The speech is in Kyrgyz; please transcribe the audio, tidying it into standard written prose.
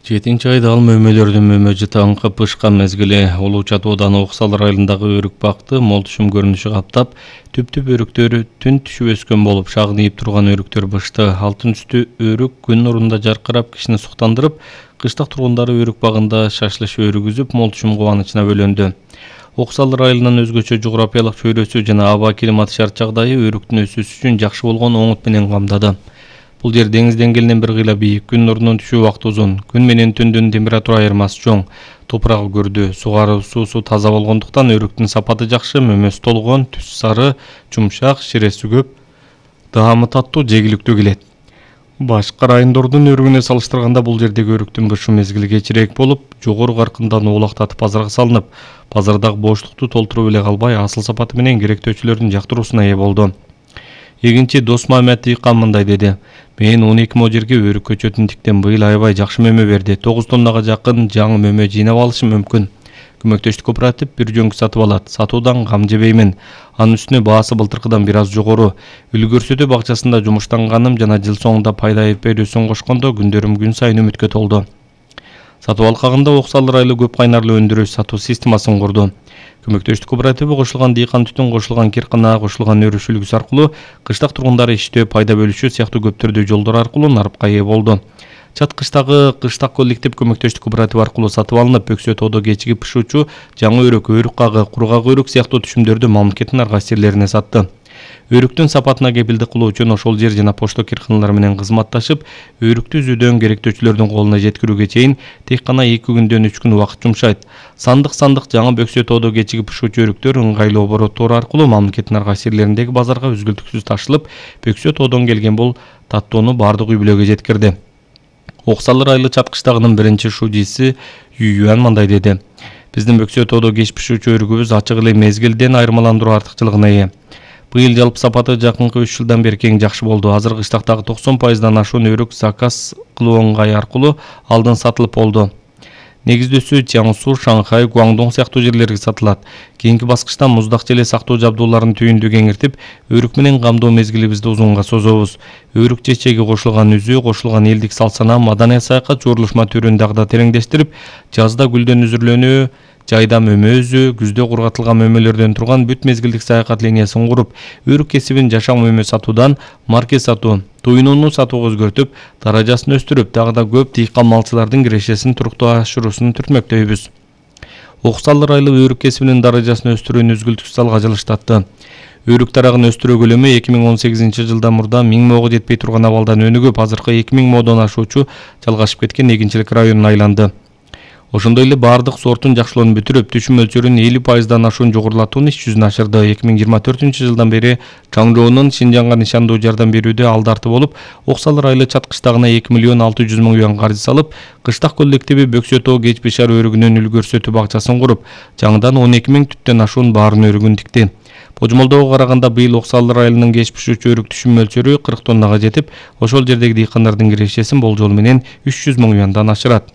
7 айда ал мөмөлөрдүн мөмөжү таңкы пышкан мезгили Улуу Чат Ооданы Оксал районундагы өрүк бакты молтушум көрүнүшү каптап, түп-түп өрүктөр түн түшүп өскөн болуп, шагынып турган өрүктөр бышты. Алтын үстү өрүк күн нурунда жаркырап кишини суктандырып, кыштак тургундары өрүк багында шашлыш өрүгүзүп, молтушум кубанычына бөлөндү. Оксал районунун өзгөчө жогорапиялык чөйрөсү жана аба климат шарт жагдайы өрүктүн өсүүсү үчүн жакшы болгон оңут менен камдады. Бул жер деңиз деңгээлинен бир кыйла бийик, күн нурунун түшүү убакыты узун, күн менен түндүн температура айырмасы чоң, топурагы көрдү, суусу таза болгондуктан өрүктүн сапаты жакшы, мөмөсү толгон, түсү сары, жумшак, ширеси көп, даамы таттуу, жегиликтүү келет. Башка райондордун өрүгүнө салыштырганда бул жердеги өрүктүн бышуу мезгили кечирээк болуп, жогору каркындан оолактатып базарга салынып, базардагы боштукту толтуруп эле калбай, асыл сапаты менен керектөөчүлөрдүн жактыруусуна ээ болду. Эгинчи Досмамет Дыйкан мындай деди: "Мен 12 мо жерге өрүк көчөтүн тиктим, быйыл аябай жакшы мөмө берди. 9 тоннага жакын жаңы мөмө жыйнап алышым мүмкүн. Көмөктөштүк кооператив бир жөнкү сатып алат. Сатуудан кам жебеймин. Анын үстүнө баасы былтыркыдан бир аз жогору. Үлгүрсөтө бакчасында жумуштанганым жана жыл соңунда пайда берүүсүн кошкондо күндөрүм күн сайын үмүткө толду." Сатуу алкагында Оксал району көп кайнарлуу өндүрүш сатуу системасын курду. Көмөктөштүк кооперативи кошулган дыйкан түтүн, кошулган киркана, кошулган өрүш үлгүсү аркылуу кыштак тургундары иштөө, пайда бөлүшүү сыяктуу көп түрдүү жолдор аркылуу нарыкка ээ болду. Чат кыштагы кыштак коллектив көмөктөштүк кооперативи аркылуу сатып алынып, Бөксө тоодо кечиги пышуучу жаңы өрүк, өрүк кагы, кургак өрүк сыяктуу түшүмдөрдү мамлекеттин ар кайсы жерлерине сатты. Өрүктүн сапатына кепилдик кылуу үчүн ошол жер жана почта кирканалары менен кызматташып, өрүктү үзүүдөн керектөөчүлөрдүн колуна жеткирүүгө чейин тек гана 2 күндөн 3 күн убакыт жумшайт. Сандык жаңы Бөксө тоодо кечиги пышуучу өрүктөр ыңгайлуу обороттор аркылуу мамлекеттин ар кайсы жерлериндеги базарга үзгүлтүксүз ташылып, Бөксө тоодон келген бул таттоону бардык үй бүлөгө жеткирди. Оксал району Чат кыштагынын биринчи шужиси Ююан мындай деди: "Биздин Бөксө тоодо кеч пышуучу өрүгүбүз ачык эле мезгилден айырмаландыруу артыкчылыгына ээ. Быйыл жалпы сапаты жакынкы 3 жылдан бери кең жакшы болду. Азыр кыштактагы 90% ашуун өрүк заказ кылуу ыңгай аркылуу алдын сатылып болду. Негиздөөсү Чаңсу, Шанхай, Гуандон сыяктуу жерлерге сатылат. Кийинки баскычта муздак желе сактоо жабдууларын түйүндү кеңиртип, өрүк менен камдоо мезгилибизди узунга созобуз. Өрүк чечеги кошулган үзүү, кошулган элдик салсана, маданий саякат жуурулушма түрүн дагы да тереңдештирип, жазда гүлдөн үзүрлөнүү, жайда мөмө үзүү, күздө кургатылган мөмөлөрдөн турган бүт мезгилдик саякат линиясын куруп, өрүк кесибин жашак мөмө сатуудан марке сатуу, туйнууну сатууга өзгөртүп, даражасын өстүрүп, дагы да көп дыйкан малчылардын кирешесин туруктуу ашыруусун түртмөктөйбүз. Оксал району өрүк кесибинин даражасын өстүрүүнү үзгүлтүксүз алга жылыштатты. Өрүк тарагын өстүрүү көлөмү 2018 жылдан мурда 1000 мого жетпей турган абалдан өнүгүп, азыркы 2000 модон ашуучу жалгашып кеткен эгинчилик районуна айланды. Ошондой эле бардык сортун жакшылоону бүтүрүп, түшүм мөлчөрүн 50%дан ашуун жогорулатууну иш жүзүнө ашырды. 2024 жылдан бери Чаңжоонун Шинжаңга нишандуу жардам берүүдө алдарты болуп, Оксал району Чат кыштагына 2 миллион 600 миң юан каржы салып, кыштак коллективи Бөксө тоо кеч бишар өрүгүнүн үлгүрсөтүү бакчасын куруп, жаңыдан 12 миң түттөн ашуун баарын өрүгүн тикти. Божомолдоого караганда быйыл Оксал районунун кеч пышуучу өрүк түшүм мөлчөрү 40 тоннага жетип, ошол жердеги дыйкандардын кирешесин болжол менен 300 миң юандан ашырат.